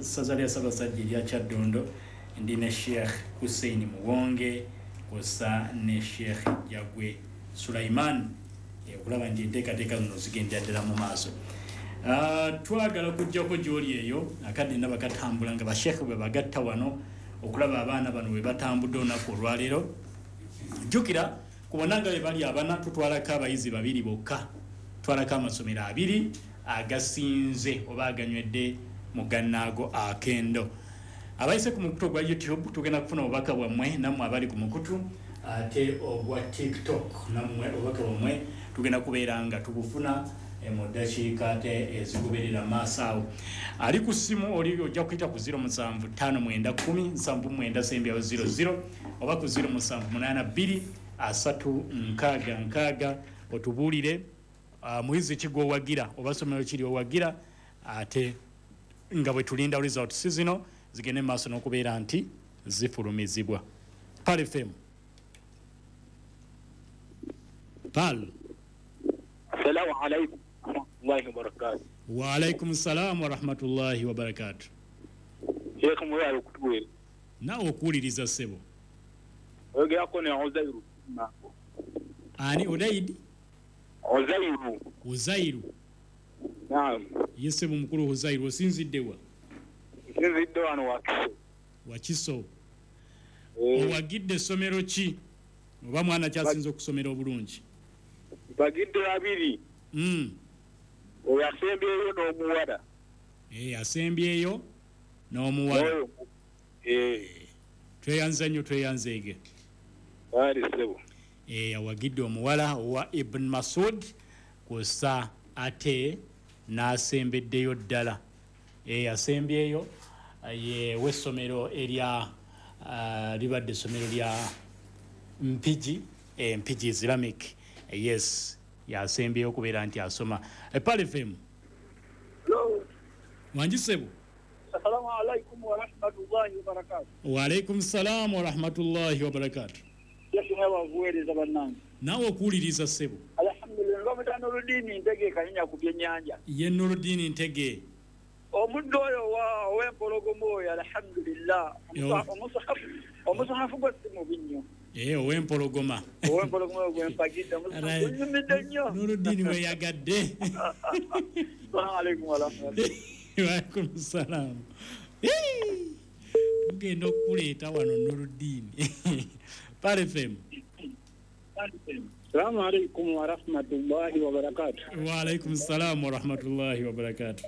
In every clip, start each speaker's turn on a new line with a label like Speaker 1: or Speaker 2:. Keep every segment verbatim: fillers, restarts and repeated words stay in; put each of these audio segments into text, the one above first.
Speaker 1: ssaza lya Ssaabasajja erya Kyaddondo. Ndi ne Sheikh Hussein Muwonge kwossa ne Sheikh Jagwe Sulaiman, okulaba nti enteekateeka zino zigendera ddala mu maaso. Twagala kujjako gy'oli eyo akadde ndaba katambula nga basheekhe bwe bagatta wano okulaba abaana bano bwe batambudde olunaku olwaleero. Jjukira ku bonna nga bwe bali abana, tutwalako abayizi babiri bokka, tutwalako amasomero abiri agasinze oba aganywedde mu gannaago akendo. Abayise ku mukutu ogwa YouTube, tugenda kufuna obubaka bwammwe, nammwe abali ku mukutu ate ogwa TikTok, nammwe obubaka bwammwe tugenda kubeera nga tubufuna mu ddakiika ate ezikuberera maaso awo. Ali ku ssimu oli ojja kuyita ku zero musanvu ttaano mwenda kkumi nsanvu mwenda sembyawo zero zero oba ku zero musanvu munaana bbiri asatu nkaaga nkaaga, otubuulire muyizi ki gw'owagira oba ssomero ki ly'owagira, ate nga bwe tulinda results zino zigende mu maaso n'okubeera nti zifulumizibwa. Pearl F M. Pearl.
Speaker 2: Assalamu alaikum warahmatullahi wabarakatuh.
Speaker 1: Wa alaikum salam wa rahmatullahi wa barakatuh.
Speaker 2: Sheikh mwali okutuweereza.
Speaker 1: Naawe okuwuliriza ssebo.
Speaker 2: Oyogerako ne Uzairu.
Speaker 1: Ani Udaidi?
Speaker 2: Uzairu.
Speaker 1: Uzairu.
Speaker 2: Naam.
Speaker 1: Ye ssebo mukulu Uzairu, osinzidde wa?
Speaker 2: Nsinzidde wano Wakiso.
Speaker 1: Wakiso. Owagidde essomero ki? Oba mwana kyasinze okusomera obulungi?
Speaker 2: Mpagidde babiri.
Speaker 1: Mm.
Speaker 2: Oyo asembyeyo n'omuwala.
Speaker 1: Eh, asembyeyo n'omuwala.
Speaker 2: Eh.
Speaker 1: Tweyanze nnyo, tweyanzeege.
Speaker 2: Bali ssebo.
Speaker 1: Eh, awagidde omuwala owa Ibn Masud kwossa ate n'asembeddeyo ddala. Eh, asembyeyo ye w'essomero erya uh, libadde essomero lya Mpigi, eh, Mpigi Islamic. Eh, yes, yasembyeyo okubeera nti asoma. Eh, Pearl F M.
Speaker 3: Hello.
Speaker 1: Wangi ssebo.
Speaker 3: Assalamu alaikum wa rahmatullahi wa barakatuh.
Speaker 1: Wa alaikum salam wa rahmatullahi wa barakatuh.
Speaker 3: Yesu mwebavuweereza bannange.
Speaker 1: Naawe okuwuliriza ssebo.
Speaker 3: Alhamdulillah, bamuyita Nurudini Ntege Kanyinya ku byennyanja.
Speaker 1: Ye Nurudini Ntege.
Speaker 3: Omuddo oyo ow'empologoma oyo, alhamdulillah, omusahafu gwe si mubi nnyo.
Speaker 1: Eh, ow'empologoma.
Speaker 3: Ow'empologoma oyo gwe mpagidde, omusahafu gunyumidde nnyo.
Speaker 1: Nurudini weyagadde.
Speaker 3: Assalamu alaikum wa rahmatullahi.
Speaker 1: Wa alaikum salam. Tugenda okukuleeta wano Nurudini. Pearl F M.
Speaker 2: Assalamu alaikum wa rahmatullahi wa barakatuh.
Speaker 1: Wa alaikum salam wa rahmatullahi wa barakatuh.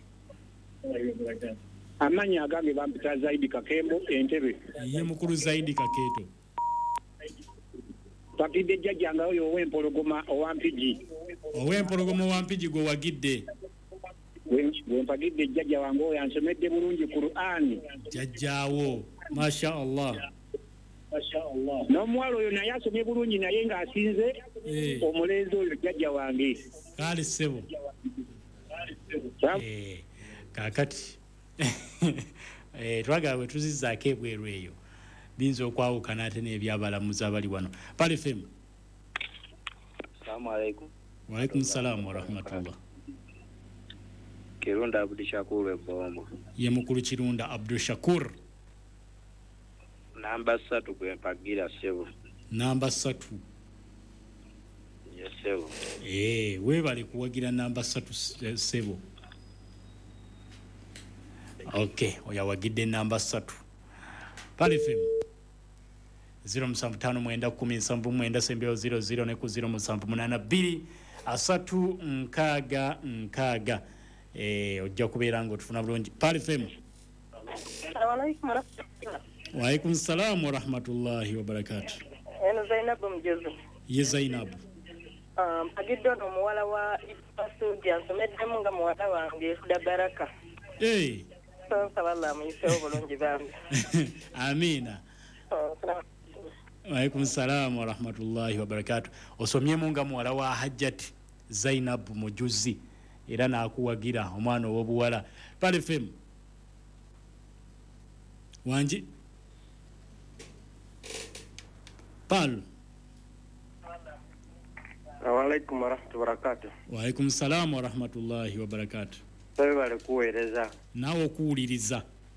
Speaker 2: Amannya agange bampita Zaidi Kakembo Entebbe.
Speaker 1: Ye mukulu Zaidi Kaketo.
Speaker 2: Mpagidde jjajjange oyo ow'empologoma owa Mpigi.
Speaker 1: Ow'empologoma owa Mpigi gwe wagidde.
Speaker 2: Gwe mpagidde jjajja wange oyo ansomedde bulungi Qur'ani.
Speaker 1: Jjajjaawo, masha Allah.
Speaker 2: N'omuwala oyo naye asomye bulungi naye ng'asinze omulenzi oyo jjajja wange.
Speaker 1: Kale ssebo. Eh, kaakati eh, twagala bwe tuzizzaako ebweru eyo biyinza okwawukana ate n'ebyabalamuzi abali wano. Pearl F M.
Speaker 4: Assalamu alaikum.
Speaker 1: Wa alaikum salam wa rahmatullah.
Speaker 4: Kirunda Abdul Shakur Ebombo.
Speaker 1: Ye mukulu Kirunda Abdul Shakur.
Speaker 4: Namba ssatu gwe mpagira ssebo.
Speaker 1: Namba ssatu.
Speaker 4: Ye ssebo.
Speaker 1: Eh, weebale kuwagira namba ssatu ssebo. Okay, oyo awagidde namba ssatu. Pearl F M. zero musanvu ttaano mwenda kkumi nsanvu mwenda sembyawo zero zero ne ku zero musanvu munaana bbiri asatu nkaaga nkaaga. Eh, ojja kubeera ng'otufuna bulungi. Pearl F M.
Speaker 5: Assalamu alaikum warahmatullahi.
Speaker 1: Wa alaikum salam wa rahmatullahi wa barakatuh.
Speaker 5: Eno Zainabu Mjuzi.
Speaker 1: Ye Zainabu.
Speaker 5: Mpagidde ono omuwala wa Ibn Masud ansomeddemu nga muwala wange Huda Baraka.
Speaker 1: Eh.
Speaker 5: Nsaba Allah amuyiseewo bulungi bambi.
Speaker 1: Amina. Wa alaikum salam wa rahmatullahi wa barakatuh. Osomyemu nga muwala wa Hajjat Zainabu Mujuzi era n'akuwagira omwana ow'obuwala. Pearl F M. Wangi. Pearl.
Speaker 4: Assalamu alaikum warahmatullahi wabarakatuh.
Speaker 1: Wa alaikum salam wa rahmatullahi wa barakatuh.
Speaker 4: Webale kuweereza.
Speaker 1: Naawe okuwuliriza.